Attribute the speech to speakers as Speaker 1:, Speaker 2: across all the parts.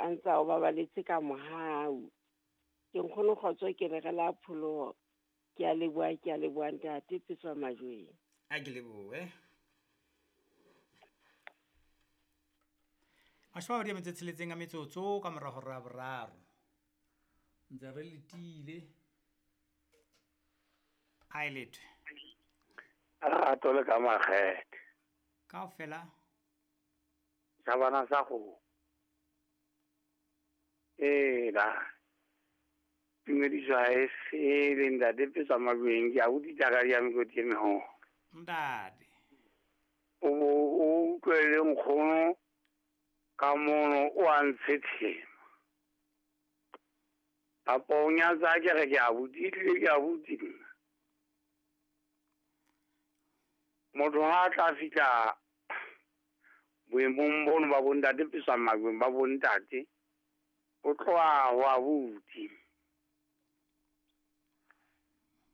Speaker 1: a ntse a o babaletse ka mohau. Ke nkgono Kgotso ke re re la pholoho. Ke a leboha, ke a leboha ntate Petswa Majweng.
Speaker 2: A ke lebohe. 26 a metsotso ka morago ra boraro. Ntse re letile. A e lethwe.
Speaker 3: Rato le ka makgethe.
Speaker 2: Kaofela.
Speaker 3: Sa bana sa go. Ela. Tumediso ha e fele ntate Petswa Majweng ke a utlwisa ka ya mekoti e meholo.
Speaker 2: Ntate.
Speaker 3: O bo o utlwele nkgono ka mono o a ntshetshema. Kapa o nyatsa ke re ke abuti, ehlile ke abuti nna. Motho ha a tla fihla boemong bono ba bontate Petswa Majweng ba bontate, o tloha ho abuti.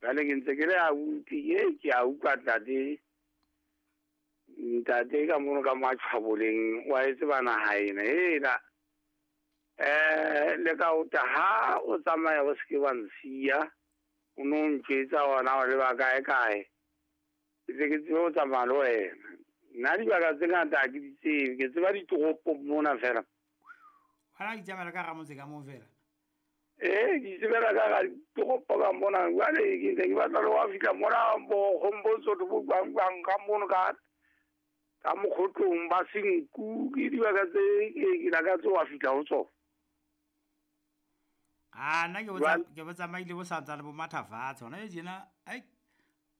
Speaker 3: Jwale ke ntse ke le abuti, ke a utlwa ntate. Ntate ka mono ka matjhaboleng wa e tseba naha ena. Hela. Le ka uta ha o tsamaya o se ke wa nsiya, o no ntjwetsa hona o leba kae kae. Ke tle ke tsebe ho tsamaya le wena. Nna dibaka tse ngata ha ke di tsebe, ke tseba ditoropong mona fela.
Speaker 2: Wena o itsamaela ka hara motse ka moo fela?
Speaker 3: Ee, ke itsebela ka hara ditoropo ka mona. Jwale ke ntse ke batla le ho fihla mona bo Kgombotso bo jwang jwang ka mono ka ka mokgotlong ba senku, ke dibaka tse ke lakatse ho fihla ho tsona.
Speaker 2: A nna ke bo tsamaile bo santsane bo matha fatshe hona tjena, ai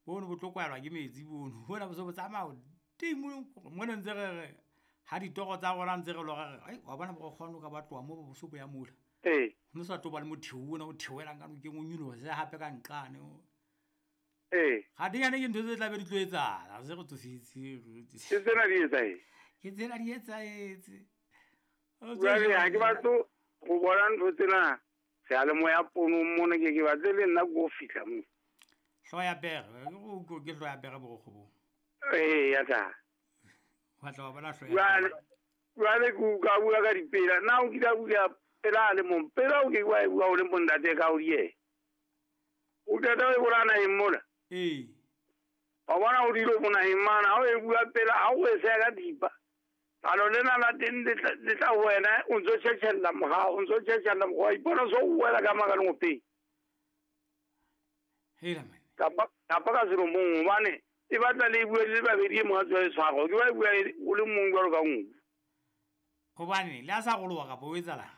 Speaker 2: bono bo tlo kwalwa ke metsi bono. Bona bo se bo tsamaya hodimo mona ntse re re ha ditoro tsa rona ntse re lora re, ai wa bona bo kgone ka ba tloha mo bo se bo ya mola.
Speaker 3: Ee.
Speaker 2: Ho no sa tlo ba le motheo ona o theohelang ka nokeng o nyolohe hape ka nqane.
Speaker 3: Ee.
Speaker 2: Ga di yane ke ntho tse tla be di tlo etsahala, se re tsofetse.
Speaker 3: Ke tsena di etsahetse.
Speaker 2: Ke tsena di etsahetse.
Speaker 3: Jwale ha ke batle ho bona ntho tsena seyalemoya ponong mona, ke batle le nna ko fihla mo.
Speaker 2: Hlooho ya pere, ke hlooho ya pere borokgo bo.
Speaker 3: Ee, ya tla.
Speaker 2: Wa tla wa bona hlooho ya pere.
Speaker 3: Jwale ke utlwa bua ka dipela. Na o kile a bua pela a le mong? Pela o ke wa e bua o le mong ntate ka o die. O qeta o e bolaya naheng mona?
Speaker 2: Ee.
Speaker 3: Wa bona o dilo mo naheng mane, ha o e bua pela, ha o e seha ka thipa. Jalo lena la teng le tla ho wena, o ntso tjhetjhella morao, o ntso tjhetjhella morao, wa ipona so o wela ka maka lengopeng.
Speaker 2: Hela man.
Speaker 3: Kapa ka selomong, hobane e batla le bue le babedi e mong a tswa e tshwara, ke ba e bua o le mong jwalo ka nku.
Speaker 2: Hobane le a sa roloha kapa o etsahalang?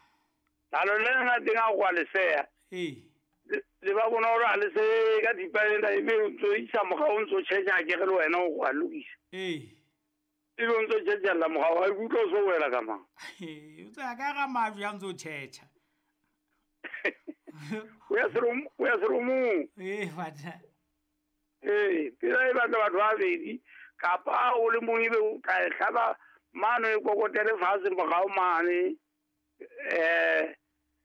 Speaker 3: Jalo lena la teng ha o kwa leseya.
Speaker 2: Ee.
Speaker 3: Le ba bona hore ha le se ka thipa ena, ebe o ntso isa morao, o ntso tjhetjha, ke re le wena o kwa lokisa.
Speaker 2: Ee.
Speaker 3: Ebe o ntso tjhetjhella morao, ha ikutlwa o so wela ka mang.
Speaker 2: O tswa ka hara majwe a ntso tjhetjha.
Speaker 3: O ya seromong.
Speaker 2: Ee, batjha.
Speaker 3: Ee, pela e batla batho ba babedi, kapa o le mong ebe o tla e hlaba mane o e kokotele fatshe morao mane,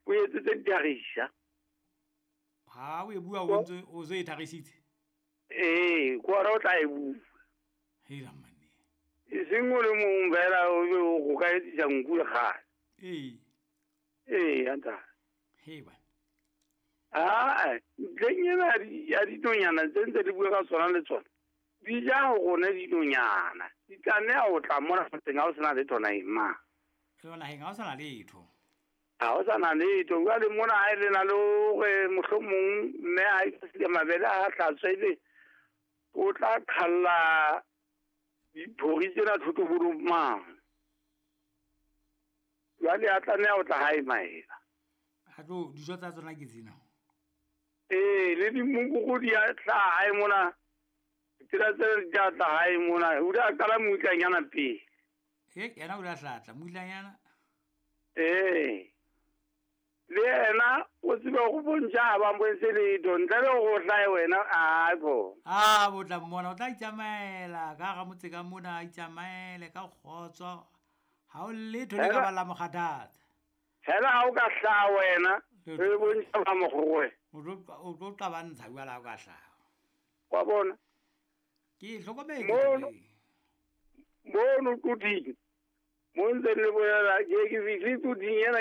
Speaker 3: o etsetse ditharisa.
Speaker 2: Ha o e bua o ntse o se e tharisitse?
Speaker 3: Ee, ke hona o tla e bua.
Speaker 2: Hela mane.
Speaker 3: E seng o le mong fela o be o ka etsisa nku le kgale.
Speaker 2: Ee.
Speaker 3: Ee, ya ntate.
Speaker 2: He bana.
Speaker 3: Aa, ntlheng ena ya dinonyana tse ntse di bua ka tsona le tsona, di ja ho rona dinonyana. Di tlameha ho tla mona motseng ha o sena letho naheng mane.
Speaker 2: Le naheng ha o sana letho.
Speaker 3: Ha o sana letho. Jwale mona ha e le na le hore mohlomong mme ha e mabele a hlatswe ebe o tla qhalla diphori tsena thotobolong mane. Jwale a tlameha ho tla hae maela.
Speaker 2: Ha tlo dijo tsa tsona ke tsena.
Speaker 3: Ee, le dimokoko di a tla hae mona. Tsela tse di a tla hae mona. O ile a qala moitlanyana pele.
Speaker 2: Ee, yena o ile a hlatla moitlanyana.
Speaker 3: Ee. Le yena o tsebe go bontša ha ba mpontshe letho, ntle le go hlae wena, a ko.
Speaker 2: A bo tla mmona, o tla itsamaela ka hara motse ka mona, a itsamaele ka kgotso. Ha o letho le ka ba la mo kgathatsa.
Speaker 3: Fela ha o ka hlaha wena, re bontša ba mokgowe.
Speaker 2: O tlo qabantsha jwale ha o ka hlaha.
Speaker 3: Wa bona?
Speaker 2: Ke hlokometse.
Speaker 3: Mono tuding. Mo ntse le bolela, ke fihle tuding ena.